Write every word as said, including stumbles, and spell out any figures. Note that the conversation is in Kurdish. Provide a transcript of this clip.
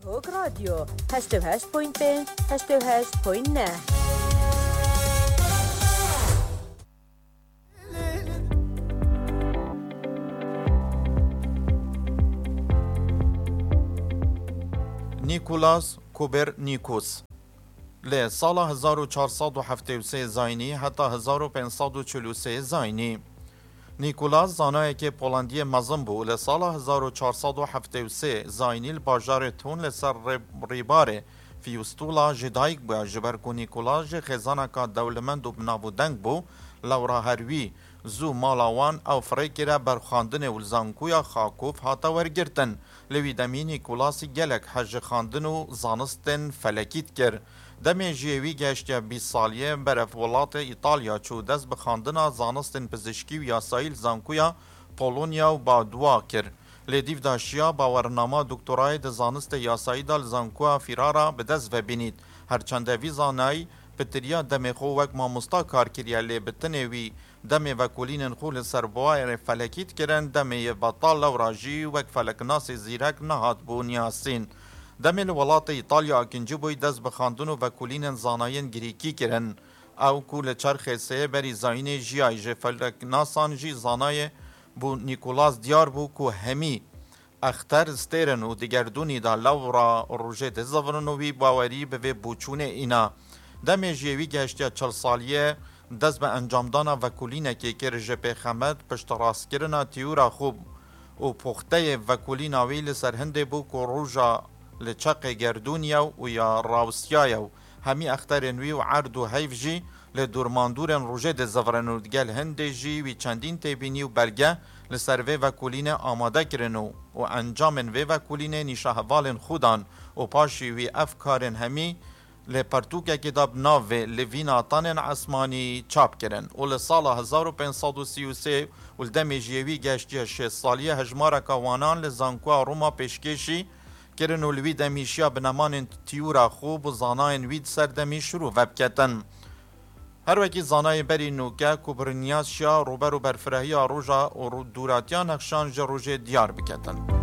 Hok Radyo, heşt û heşt point pênc, heşt û heşt point neh. Nîkolas Kopernikus. Li sala hezar û çar sed û heftê û sê zayînî heta hezar û pênc sed û çil û sê zayînî. Nîkolas zanayekê Polandiyê mezin bû û li sala hezar û çar sed û heftê û sê zayînî li bajarê Thun li ser rê-, rêbarê Fiyûstula ji dayik bûye. Ji ber ku Nîkolas jî xêzaneka dewlemend û bi nav û deng bû, lewra her wî zû mala wan ew firê kire ber xwendinê û li zankoya Xakov hate wergirtin. Li wî demî Nîkolasî gelek hez ji xwendin û zanistên felekî dikir. Demê jiyê wî gehiştiye bîst saliyê, berev welatê Îtalya çû, dest bi xwendina zanistên pizişkî û yasayî li zankoya Polonya û Padua kir. Lê dîv de şiya bawernama doktorayê di zanistê yasayî de li zankoya Ferrara bi dest ve bînît. Her çende vî zanayî pitiriya demê xwe wek mamosta kar kiriye, lê bi tinê wî demê vekolînên xwe li ser bawerê felekî dikirin, demê yê betal lewra jî wek feleknasê zîrek nehat bû niyasîn. Demê li welatê Îtalya akincî bûyî, dest bi xwendin û vekolînên zanayên Grîkî kirin. Ew ku li çerxê sê berî zayînê jiyayî, ji feleknasan jî zanayê bû Nîkolas diyar bû ku hemî exter stêrin û di gerdûnî de lewra rojê dizivirin û wî bawerî bi vê boçûnê îna. Demê jiyê wî gehiştiye çil saliyê, dest bi encamdana vekolînekê kir, ji pêxemet piştrastkirina tîyûra xwe û poxteyê vekolîna wî li ser hindê bû ku roja li çeqê gerdûnî ye û ya rawestiyaye û hemî exterên wî û erd û heyv jî li dûrmandûrên rojê dizivirin û digel hindê jî wî çendîn têbînî û belge li ser vê vekolînê amade kirin û, û encamên vê vekolînê nîşa hevalên xwe dan û paşî wî ev karên hemî li pertûkekê de bi navê Li Vîna Tenên Esmanî çap kirin û li sala hezar û pênc sed û sî û sê û li demê jiyê wî gehiştiye şêst saliyê, hejmareka wanan li zankoya Roma pêşkêşî kirin û li wî demî şiya bi nemanên tîyûra xwe bo zanayên wî di ser demî şirove biketin. Her wekî zanayê berî nûke Kubrinias şiya rûber û berfirahiya roja û ro-, dûratiya nexşan ji rojê diyar biketin.